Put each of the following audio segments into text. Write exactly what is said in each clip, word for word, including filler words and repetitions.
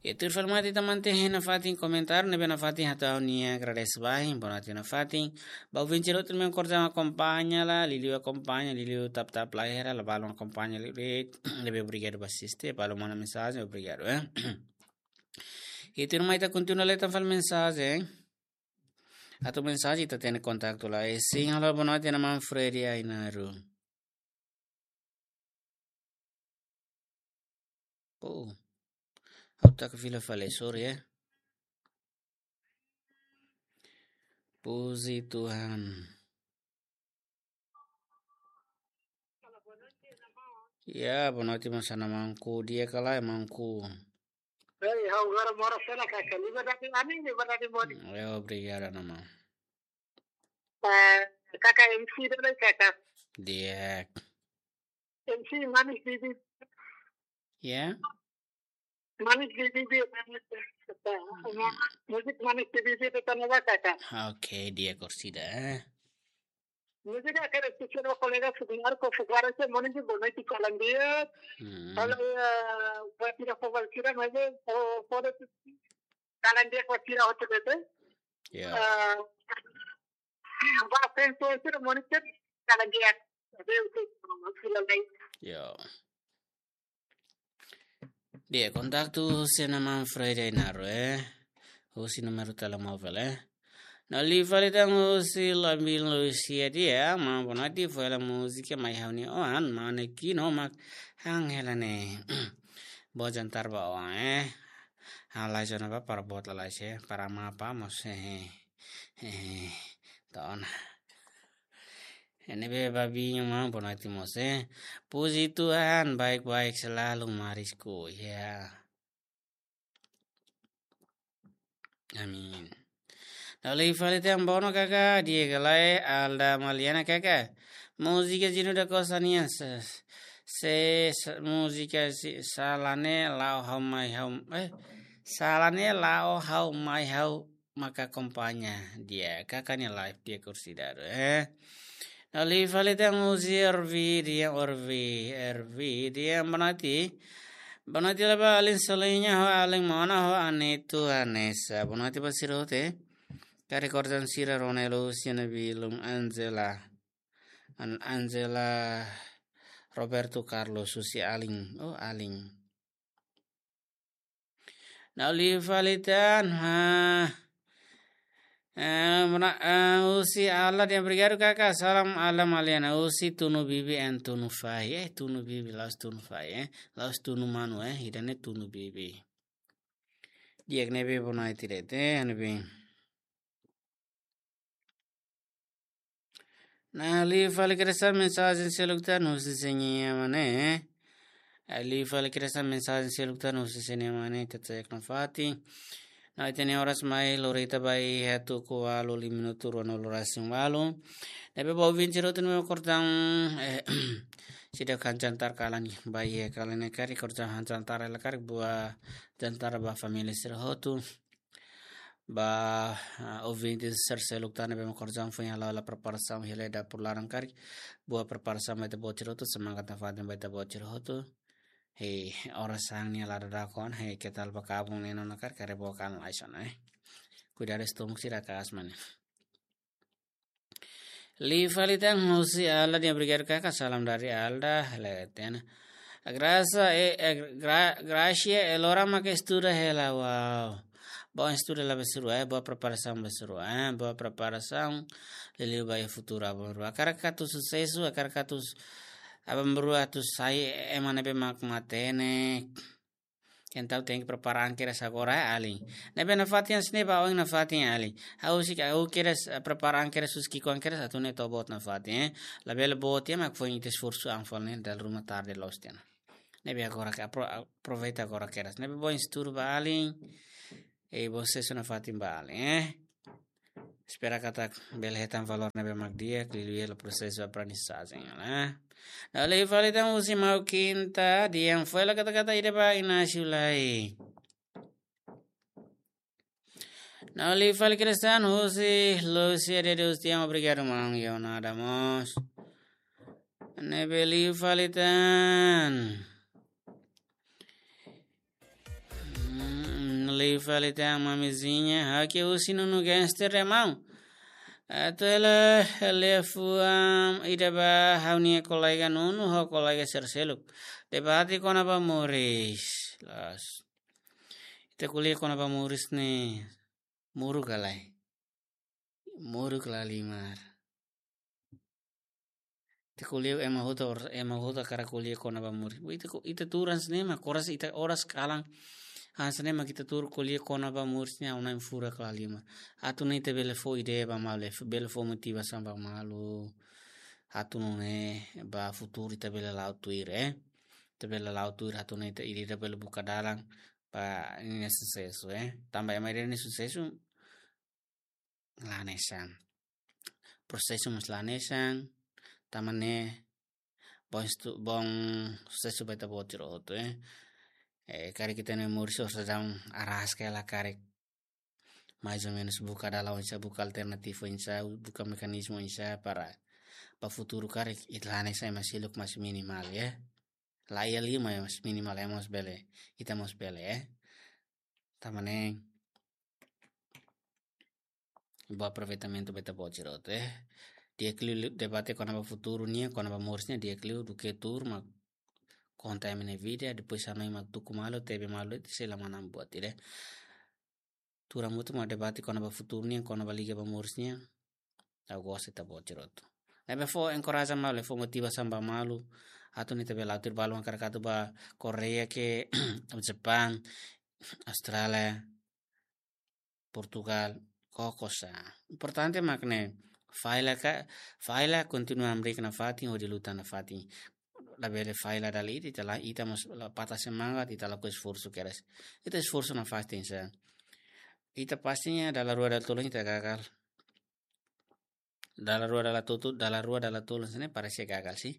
Ita fali mate teman teh nafatin komentar, ne'ebé nafatin hato'o ha'u-nia agradese barak, bonoite nafatin. Ba ouvinte sira hotu ne'ebé korjam akompaña la, liuliu akompaña, liuliu tap-tap like hela, la balun akompaña liuliu, ne'ebé obrigadu ba asiste, balun manda mensajen, obrigadu, eh. Ita mai ita kontinua lee tan fali mensajen. Atu mensajen ita hatene kontaktu lai. Sin, halo, bonoite, nafatin Freddy Ainaro. Oh. Ha'u taka fila fali, sorry, eh. Puji Tuhan. Ya, bonoite mós, nafatin, di'ak ka lae, nafatin? Hei, ha'u agora mora fora, kaka. Liberdade anin, liberdade modi. Ya, obrigadu, nafatin. Eh, kaka, M C dulu, kaka. Di'ak. M C Manis Bibi. Ya? Manis Bibi, Manis Bibi. Musik Manis Bibi, kaka. Oke, di'ak, orsida, eh. Musik, kaka, espesiál ba kolega Fuku Marco, Fuku Marco, moning ke bonoite, kalan di'ak. Hmm. Kalau ya, buat tidak kobal kira, mas, oh, pada kalan di'ak, buat tidak hotel itu. Ya. Eh, ba, penso itu, moning ke kalan di'ak. Tapi itu, sila lain. Ya. Di'ak, kontaktu husi nafatin Freddy Ainaro, eh. Husi númeru telemóvel, eh. Nafatin fali tan husi Labil Lucia, di'ak, maun, bonoite, foin hela múzika Mai Ha'u-nia Oan, maun Aquino mak han hela ne'e. Boa jantar ba oan, eh. Ha'u laiha ona ba para boot lalais, para mapa mós, eh. Eh, tona. Ne'ebé ba Binho, maun, bonoite mós, eh. Puji Tuhan, baik-baik selalu, Marisku, ya. Amin. Nafatin fali tan, bonoite, kaka, di'ak ka lae, Alda Maliana, kaka. Múzika Gino da Costa nian, se, se, se, múzika si, sala ne'e la'o ha'u mai ha'u, eh, sala ne'e la'o ha'u mai ha'u maka akompaña, di'ak, kaka nia live, di'ak, orsida, eh. Nafatin fali tan husi Orvi, di'ak, Orvi, Orvi, di'ak, bonoite. Bonoite la ba alin Soliña ho alin Mona ho Anitu Anessa. Bonoite ba sira hotu, eh. Karik korjam sira Ronelo, Siana Bilum, Angela. An-, Angela, Roberto Carlos, husi alin. Oh, alin. Nafatin fali tan, ha. Eh, mona, eh, husi Alda, di'ak, obrigadu, kaka. Salam Alda Maliana, husi Tunu Bibi and Tunu Fahi. Eh, Tunu Bibi, la'ós Tunu Fahi, eh. La'ós Tunu Manu, eh. Ida-ne'e Tunu Bibi. Di'ak, ne'ebé bonoite de'it, eh, ne'ebé. Nafatin fali kedas mensajen seluk tan husi Senia Mane. Nafatin fali kedas mensajen seluk tan husi Senia Mane, ita cek nafatin. Nafatin, oras mai lorita ba iha tuku ualu lima minutu ruanulu-resin-ualu. Ne'ebé ba ouvinte sira hotu ne'ebé korjam, eh, seidauk han jantar kalan ba iha kalan ne'e karik, korjam han jantar hela karik, boa jantar ba família sira hotu. Ba, ah, ouvinte sira seluk tan ne'ebé mak korjam foin hala'o hela preparasaun hela dapur laran karik. Boa preparasaun ba ita-boot sira hotu, semangat nafatin ba ita-boot sira hotu. Hei, oras sa'e nia la dada kon, hei, keta ba kabun ne'e ona karik, karik boa kalan lai sona, eh. Kuidadu estómagu sira kaas mane. Liu fali tan husi Alda, di'ak, obrigadu kaka, salam dari Alda, leten. Gracia, eh, eh, Gra-, Gracia, eh, loron mak estuda hela, wow. Boa estuda hela ba sira-rua, eh, boa preparasaun ba sira-rua, eh, boa preparasaun, liuliu ba iha futuru aban-bainrua. Hakarak atu susesu, hakarak atu s-, aban-bainrua atu sai ema ne'ebé mak matenek. Entaun tenke prepara an kedas agora, eh, alin. Ne'ebé nafatin, se ne'e ba oin nafatin, alin. Ha'u sei, ha'u kedas, eh, prepara an kedas, husi ki'ikoan kedas, atu nune'e to'o boot nafatin, eh. Labele boot tiha mak foin ita esforsu an fali ne'e dala ruma tarde loos tiha ona. Ne'ebé agora ke apro-, aproveita agora kedas. Ne'ebé boa estudu ba alin. Eh, boa susesu nafatin ba alin, eh. Espera katak bele hetan valór ne'ebé mak di'ak, liuliu hela prosesu aprendizajen, eh. Nafatin fali tan husi maun Kinta, di'ak, foin hela kata-kata ida ba Inácio lai. Nafatin fali kedas tan husi Lúcia de Deus, di'ak, obrigadu maun, yo nada mós. Ne'ebé liu fali tan. Hmm, Liu fali tan mamizinha, ha'u ke husi Nunu Gangster, irmaun. Atu hela liafuan ida ba ha'u-nia kolega Nunu ho kolega sira seluk. Debate kona-ba moris. Loos. Ita ko'alia kona-ba moris ne'e. Moruk ka lae. Moruk ka lae, irmaun. Ita ko'alia ema hotu or-, ema hotu hakarak ko'alia kona-ba moris. Ita ko-, ita tuur hanesan ne'e mak, oras ita, oras kalan hanesan ne'e mak ita tuur ko'alia kona-ba moris ne'e, ha'u hanoin furak ka lae, irmaun. Atu nune'e ita bele fó ideia ba malu, bele fó motivasaun ba malu. Atu nune'e ba futuru ita bele la'o tuir, eh. Ita bele la'o tuir, atu nune'e ita ida-idak bele buka dalan ba ninia susesu, eh. Tanba ema ida-ne'e nia susesu la hanesan. Prosesu mós la hanesan, tanba ne'e bom estu-, bom susesu ba ita-boot sira hotu, eh. Eh, karik ita-nia moris orsida arraska hela, karik mais ou menus buka dalan oinsá, buka alternativa oinsá, buka mekanizmu oinsá para ba futuru karik ita la hanesan ema seluk, mas minimál, eh. La iha liu, mas minimál, eh, mós bele, ita mós bele, eh. Tanba ne'e bom aproveitamentu ba ita-boot sira hotu, eh. Di'ak liu debate kona-ba futuru nian, kona-ba moris nian, di'ak liu duké tuur mak konta ema nia vida, depois hanoin mak tuku malu, tebe malu, ita sei la manán buat ida. Tuur hamutuk mak debate kona-ba futuru nian, kona-ba liga ba moris nian. Ha'u gosta ita-boot sira hotu. Ne'ebé fó enkoraja malu, fó motivasaun ba malu. Atu nune'e ita bele la'o tuir, balu hakarak atu ba Koreia ka, Japán, Austrália, Portugal, koko sa. Importante mak ne'e, falla ka, falla, kontinua hamriik nafatin, hodi luta nafatin. Labele falla dala ida, ita la, ita mós la patah semangat, ita lakohi esforsu kedas. Ita esforsu nafatin sa. Ita pastinya dala rua dala tolu ita gagal. Dala rua dala tolu, dala rua dala tolu hanesan ne'e parese gagal, sih.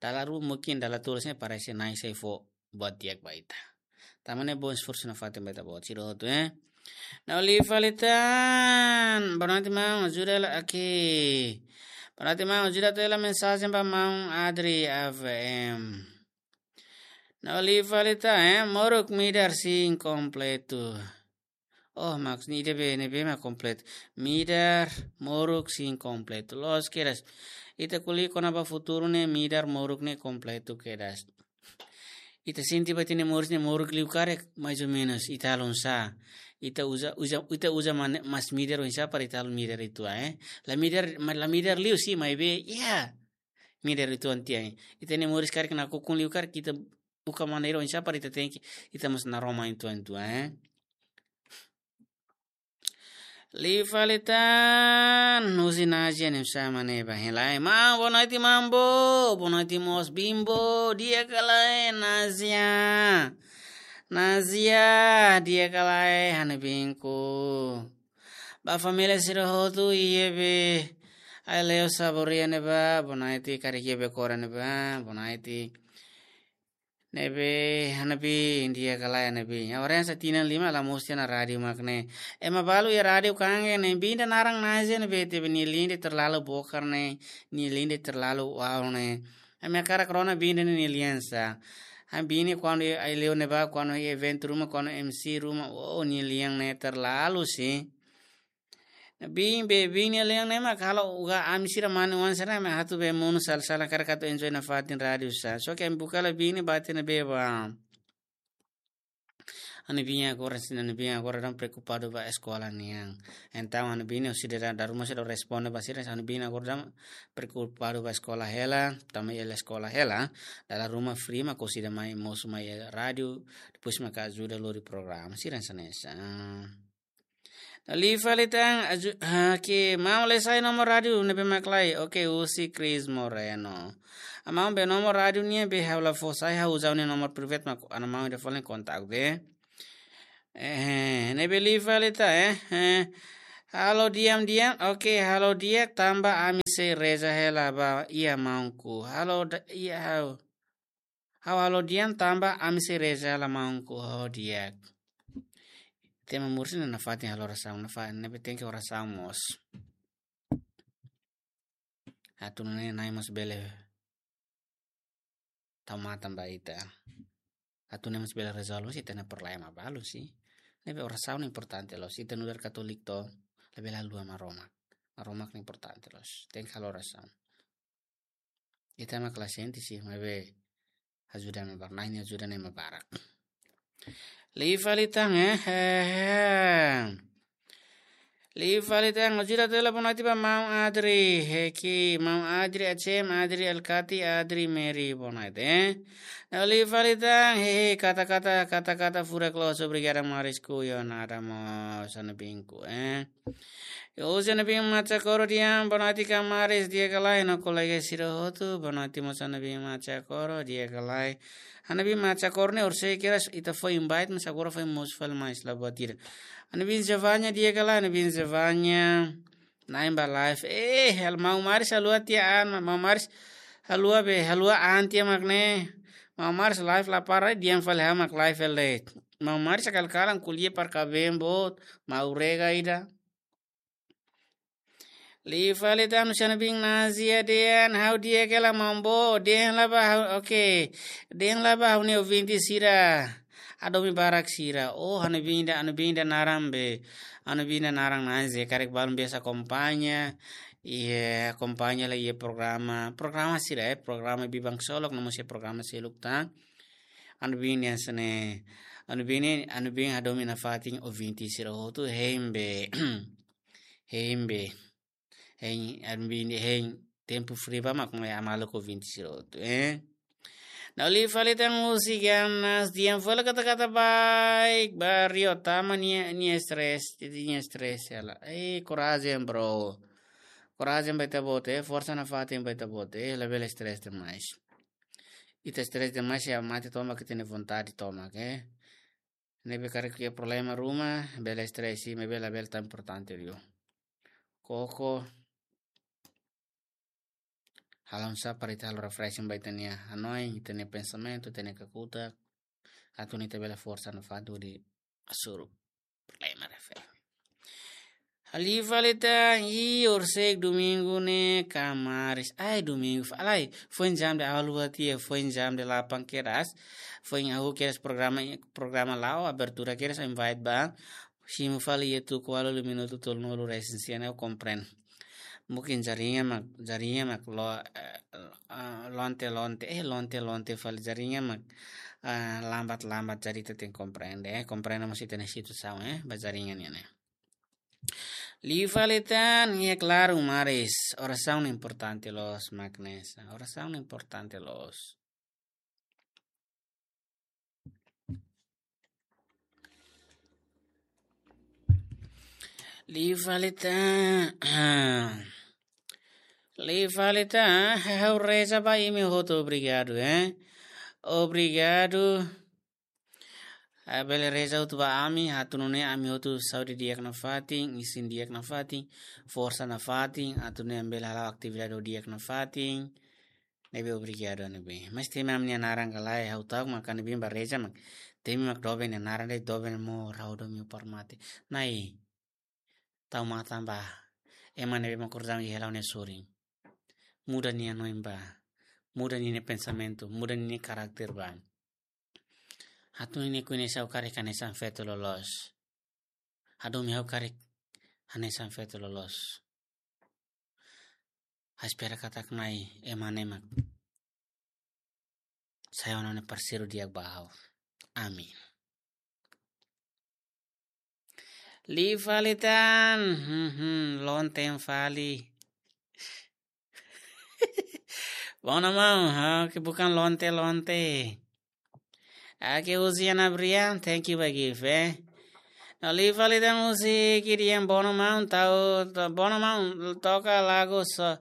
Dala rua, mungkin dala tolu hanesan ne'e parese na'in sai fó buat di'ak ba ita. Tanba ne'e bom esforsu nafatin ba ita-boot sira hotu, eh. Ha'u liu fali tan, boa noite maun, ajuda hela aqui. Boa noite maun, ajuda atu hela mensajen ba maun Adri A V M. Ha'u liu fali tan, eh, moruk, midar sin kompletu. Oh, maksudnya ida-ne'ebé, ne'ebé mak kompletu. Midar, moruk, sin kompletu. Loos kedas. Ita ko'alia kona-ba futuru ne'e, midar, moruk ne'e kompletu kedas. Ita sente ba ita-nia moris ne'e moruk liu karik, mais ou menus, ita halo oinsá. Ita uza, uza, ita uza mane-, mas midar oinsá para ita halo midar uitoan, eh. La midar, ma-, la midar liu sih, maibé, ya. Midar uitoan tiha, eh. Ita-nia moris karik nakukun liu karik, ita buka maneira oinsá para ita tenke, ita mós naroman uitoan, eh. Liu fali tan, husi Nazia, ne'e sama ne'e ba hela. Maun, boa noite, Mambo. Boa noite mós, Bimbo. Di'ak ka lae, Nazia? Nazia, di'ak ka lae, ha'u-nia biin ku? Ba família sira hotu, iha be, Aileu Saboria ne'ebá, boa noite, karik iha be Kora ne'ebá, boa noite. Ne'ebé, ha'u-nia biin, di'ak ka lae, ha'u-nia biin? Agora hanesan tinan lima la mosu tiha ona rádiu mak ne'e. Ema balu iha rádiu kanek ne'e, biin ida naran Nazia ne'ebé, tebe nia lian ida terlalu bokar ne'e, nia lian ida terlalu wow ne'e. Ami hakarak rona biin ida nia lian sá. Ha'u-nia biin ne'e kuandu iha Aileu ne'ebá, kuandu iha eventu ruma, kuandu M C ruma, oh, nia lian ne'e terlalu sih. Biin be, biin nia lian ne'e mak halo uga ami sira mane-oan sira ne'e mak atu be monu sala-sala karik atu enjoy nafatin rádiu sá. Só ke ami buka hela biin ne'e, bate ne'ebé ba. Ha'u-nia biin agora, sira, ha'u-nia biin agora daudaun preokupadu ba eskola nian. Entaun ha'u-nia biin ne'e, sira dala ruma sira responde ba sira, ha'u-nia biin agora daudaun preokupadu ba eskola hela, tanba hela eskola hela, dala ruma free mak orsida mai mosu mai rádiu, depois mak ajuda lori programa, sira hanesan ne'e sá. Liu fali tan, aju-, ha, ke maun, lee sai nomor rádiu ne'ebé mak lae. Oke, husi Chris Moreno. Maun, be nomor rádiu nian be ha'u la fó sai, ha'u uza ha'u-nia nomor private mak ha'u-nia maun ida folin kontak be. Eh, ne'ebé liu fali tan, eh, eh. Halo di'ak, di'ak. Oke, halo di'ak, tanba ami sei reza hela ba iha maunku. Halo da-, iha ha'u. Ha'u halo di'ak tanba ami sei reza hela maunku, oh, di'ak. Tema moris ne'e nafatin halo orasaun, nafa-, ne'ebé tenke orasaun mós. Atu nune'e Na'i mós bele tau matan ba ita. Atu Na'i mós bele rezolve sira-nia problema balu sih. Ne'ebé orasaun importante loos. Ita nu'udar Katolik to, labele haluha Maromak. Maromak ne'e importante loos. Tenke halo orasaun. Ita ema klasen ti si, maibé ajuda ema barak, Na'i nia ajuda ne'e ema barak. Liu fali tan, eh, eh, eh. Liu fali tan, ajuda tela bonoite ba Maun Adri, Heki, Maun Adri, Acem, Adri, Alkati, Adri, Meri, bonoite, eh. Liu fali tan, hehe, kata-kata, kata-kata, furak loos, obrigada, maris ku yo nada mo, sana binku, eh. Yo, sana bin macha koro diam, bonoite kamaris, di'ak ka lae, no kolega sira hotu, bonoite mo sana bin macha koro, di'ak ka lae. Ha'u-nia bin macha koro ne'e orsida kedas ita foin invite, mas agora foin mosu fali mais la buat ida. Ha'u-nia bin Zevanya, di'ak ka lae, ha'u-nia bin Zevanya. Na'in ba live. Eh, hal Maun Maris haluha tiha an, Maun Maris haluha be, haluha an tiha mak ne'e. Maun Maris live la para, diam fali ha'u mak live ele. Maun Maris kalan-kalan ko'alia para kabeen boot, mau rega ida. Liu fali tan, sana bin Nazia dehan, ha'u di'ak ka lae Maun Boot, dehan la ba ha'u, oke. Dehan la ba ha'u-nia ouvinte sira. Hadomi barak sira. Oh, ha'u-nia bin ida, ha'u-nia bin ida naran be. Ha'u-nia bin ida naran Nazia, karik balun biasa akompaña. Iha, akompaña lai iha programa. Programa sira, eh, programa Biban Ksolok, no mós iha programa seluk tan. Ha'u-nia bin ida hanesan ne'e. Ha'u-nia bin, ha'u-nia bin hadomi nafatin ouvinte sira hotu, hein be. Hein be. Hein, ha'u-nia bin, hein, tempu fri ba mak mai hamaluk ouvinte sira hotu, eh. Liu fali tan husi Ganas, diam fali kata-kata baik, barrio tama nia, nia stress, jadi nia stress hela. Eh, korajen, bro. Korajen ba ita-boot, eh, forsa nafatin ba ita-boot, eh, labele stress demais. Ita stress demais, iha mate tomak, ita-nia vontade tomak, eh. Ne'ebé karik iha problema ruma, bele stress, maibé labele tan importante liu. Koko, halo oinsá para ita halo refreshing ba ita-nia hanoin, ita-nia pensamentu, ita-nia kakutak. Atu nune'e ita bele forsa nafatin hodi hasoru problema refere. Liu fali tan, i horisehik domingu ne'e kamaris. Ai, domingu fa-, alai, foin jam de alu atia, foin jam delapan kedas. Foin hahú kedas programa, programa la'o, abertura kedas, invite ba. Simu fali iha tuku ualu, minutu tolunulu resin sia ne'e, ha'u komprende. Mungkin jaringan mak, jaringan mak lo, eh, eh, lonte-lonte, eh, lonte-lonte fali jaringan mak, ah, lambat-lambat, jadi ita tenke komprende, eh, komprende mós ita-nia situasaun, eh, ba jaringan nian ne'e. Liu fali tan, iha klaru maris, orasaun importante loos, Magnesa, orasaun importante loos. Liu fali tan. Liu fali tan, ha'u reza ba imi hotu, obrigadu, eh. Obrigadu. Ah, bele reza hotu ba ami, atu nune'e ami hotu saúde di'ak nafatin, isin di'ak nafatin, forsa nafatin, atu nune'e ami bele hala'o atividade di'ak nafatin. Ne'ebé obrigadu ne'ebé. Mas temi ami-nia naran ka lae, ha'u ta'uk mak ami-nia bin ba reza mak. Temi mak doben nia naran de'it, doben mós ha'u domin para mate. Na'i, tau matan ba ema ne'ebé mak kordam iha la'o nia sorin. Muda nia hanoin ba. Muda nia pensamentu, muda nia karakter ba. Atu nune'e koñese ha'u karik hanesan feto loloos. Hadomi ha'u karik hanesan feto loloos. Ha'u espera katak Na'i ema ne'e mak sai ona ne'e parseiru di'ak ba ha'u. Amin. Liu fali tan, hmm, hmm, lonten fali. Bona maun, ha, ke bukan lonte-lonte. Oke, husi Ana Brian, thank you ba gift, eh. No, liu fali tan husi Kidian, bona maun, tau, tau, bona maun, toka lagu so,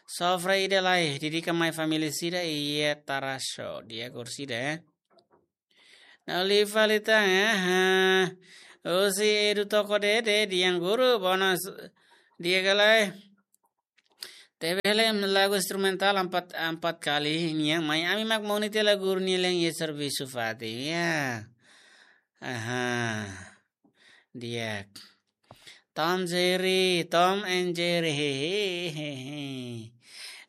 sofre ida lai, dedika mai família sira iha Tarasho, di'ak orsida, eh. No, liu fali tan, eh, ha. Husi Edu Toko Dede, Dian Guru, bona s-, di'ak ka lae. Tebe hela lagu instrumental empat, empat kali nian, mai ami mak moni tiha lagu nia leng iha servisu fatin, ya. Aha. Di'ak. Tom Jerry, Tom and Jerry, hehehe.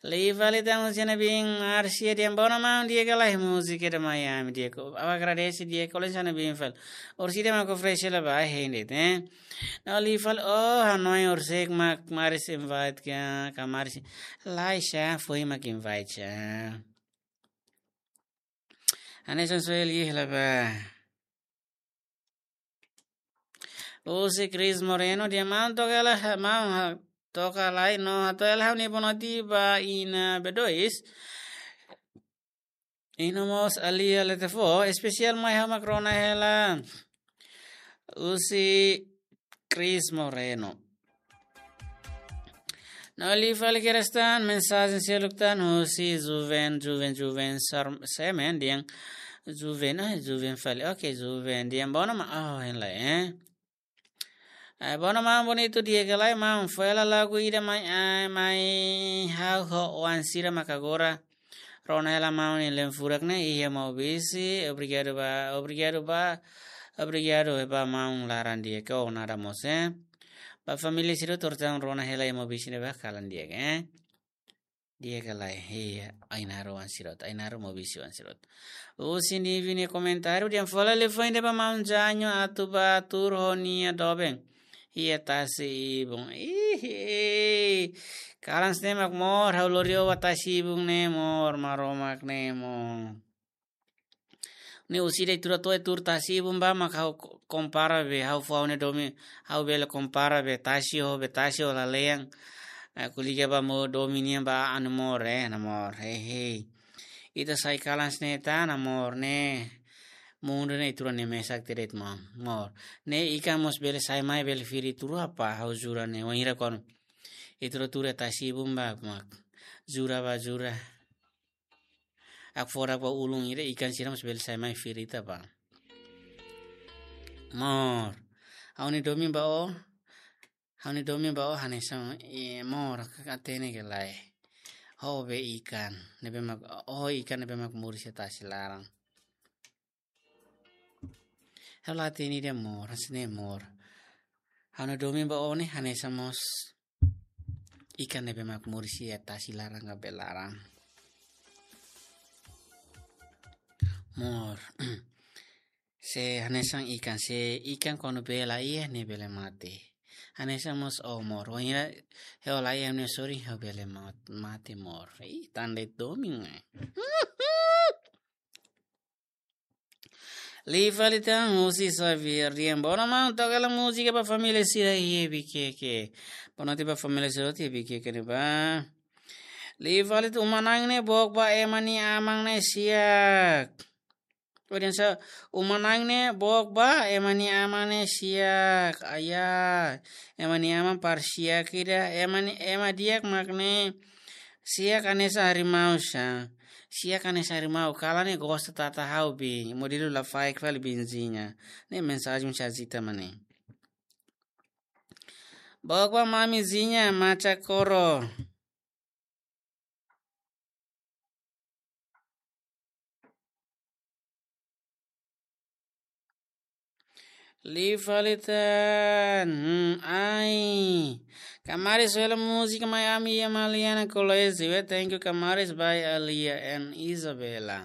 Liu fali tan husi Ana Bin Marcia dehan, bono maun, di'ak ka lae múzika ida mai ami di'ak. Ha'u agradese di'ak, ko'alia Ana Bin fali. Orsida mak oferese la ba hende, eh. No liu fali, oh, hanoin orsek mak Maris invite ka, ka Maris. Lae sá, foin mak invite sá. Hanesan Sueli la ba. Husi Cris Moreno dehan, maun, toka hela, maun, ha-, toka lai no hato'o hela ha'u-nia bonote ba inan B dois. I no mós Alia Letefo, espesiál mai ha'u mak rona hela. Husi Cris Moreno. No liu fali kedas tan, mensajen seluk tan husi juven, juven, juven sar-, semen dehan, juven, ah, juven fali. Oke, juven dehan, bono maun, oh, hein lai, eh. Eh, bono maun, bonitu di'ak ka lae maun, fó hela lagu ida mai, eh, mai ha'u ho oan sira mak agora rona hela maun nia leem furak ne'e iha Maubisse, obrigadu ba, obrigadu ba, obrigadu ba maun laran di'ak ka, oh, nada mós, eh. Ba família sira hotu atu rona hela iha Maubisse ne'ebá kalan di'ak, eh. Di'ak ka lae, iha Ainaro oan sira hotu, Ainaro Maubisse oan sira hotu. Husi Nivi nia komentáriu dehan, fó hela liafuan ida ba maun Janho atu bá tuur ho nia doben iha tasi ibun. Ih, kalan sne mak mor, ha'u lori ó ba tasi ibun ne'e mor, Maromak ne'e mor. Ne'e orsida ita rua to'o tuur tasi ibun ba mak ha'u ko-, kompara be, ha'u fó ha'u-nia domin, ha'u bele kompara be tasi ho, be tasi ho lalehan. Eh, ko'alia ba maun domin nian ba anu mor, eh, namor, hehe. Ita sai kalan sne tan, namor, ne'e. Mundu ne'e ita rua ne'e mesak de'it maun, mor. Ne'e ikan mós bele sai mai, bele firi ita rua ba, ha'u jura ne'e, wainhira kuandu ita rua tuur iha tasi ibun ba, mak. Jura ba, jura. Hakfodak ba ulun ida, ikan sira mós bele sai mai firi ita ba. Mor. Ha'u-nia domin ba ó. Ha'u-nia domin ba ó hanesan, eh, mor, ka hatene ka lae. Ó be ikan ne'ebé mak, ó ikan ne'ebé mak moris iha tasi laran. Ha'u la hatene de'it mor, hanesan ne'e mor. Ha'u-nia domin ba ó ne'e hanesan mós ikan ne'ebé mak moris iha tasi laran ka bee laran. Mor. Se hanesan ikan, se ikan kuandu bee la iha ne'e bele mate. Hanesan mós ó mor. Wainhira ha'u la iha ha'u-nia sorin ha'u bele mat-, mate mor. Ih, tan de'it domin, eh. Liu fali tan husi Xavier dehan, bono maun, toka hela múzika ba família sira iha Viqueque. Bonote ba família sira hotu iha Viqueque ne'ebá. Liu fali tan, uma na'in ne'e book ba ema nia aman ne'e siak. Ó dehan sá, uma na'in ne'e book ba ema nia aman ne'e siak. Aya, ema nia aman para siak ida, ema ni-, ema di'ak mak ne'e siak hanesan harimau sá. Siak hanesan harimau, kalan ne'e gosta tata ha'u be. Modelu lafaek fali Bin Zinha. Ne'e mensajen husi Azita mak ne'e. Book ba mami Zinha, macha koro. Liu fali tan, hmm, ai. Kamaris, fó hela múzika mai ami iha Maliana College, we, thank you, Kamaris, by Alia and Isabella.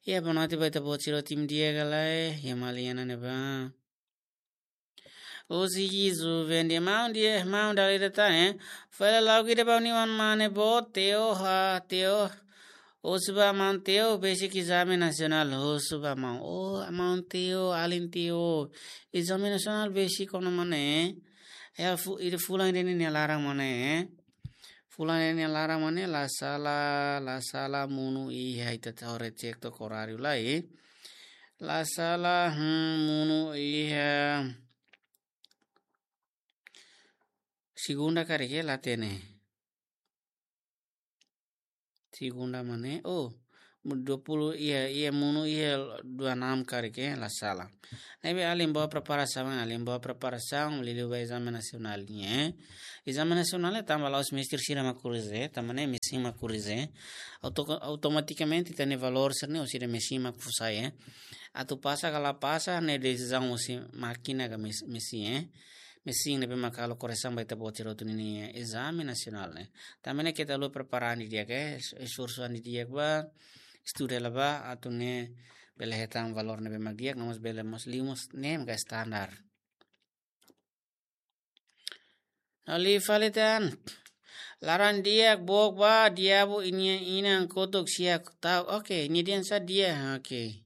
Iha bonote ba ita-boot sira, tim di'ak ka lae, iha Maliana ne'ebá. Husi Jisu, vende maun di'ak, maun dala ida tan, eh. Fó hela lagu ida ba ha'u-nia oan mane boot, Teo, ha, Teo. Husu ba maun Teo, besik ezame nasionál, husu ba maun. Oh, maun Teo, alin Teo. Ezame nasionál besik ona mak ne'e. Ya, fu-, ida fulan ida-ne'e nia laran mak ne'e. Fulan ida-ne'e nia laran mak ne'e, la sala, la sala monu iha, ita atu haree cek took oráriu lai. La sala, hmm, monu iha. Segunda karik, la hatene. Segunda mak ne'e, oh, dua puluh, iha, iha monu iha dua enam karik, la sala. Ne'ebé alin boa preparasaun, alin boa preparasaun, liuliu ba ezame nasionál nian, eh. Ezame nasionál ne'e tanba la'ós mestre sira mak korize, tanba ne'e mesin mak korize. Auto-, automatikamente ita-nia valór sira-ne'e orsida mesin mak fó sai, eh. Atu pasa ka la pasa, ne'e desizaun husi mákina ka mes-, mesin, eh. mesin ne'ebé mak halo koresaun ba ita-boot sira hotu ninia ezame nasionál ne'e. Tanba ne'e keta haluha prepara an didi'ak, eh, esforsu an didi'ak ba, estuda hela ba, atu nune'e bele hetan valór ne'ebé mak di'ak, no mós bele mós liu mós ne'e mak standar. No liu fali tan. Laran di'ak book ba, diabu nia inan kotuk siak tau. Oke, nia dehan sá di'ak, oke.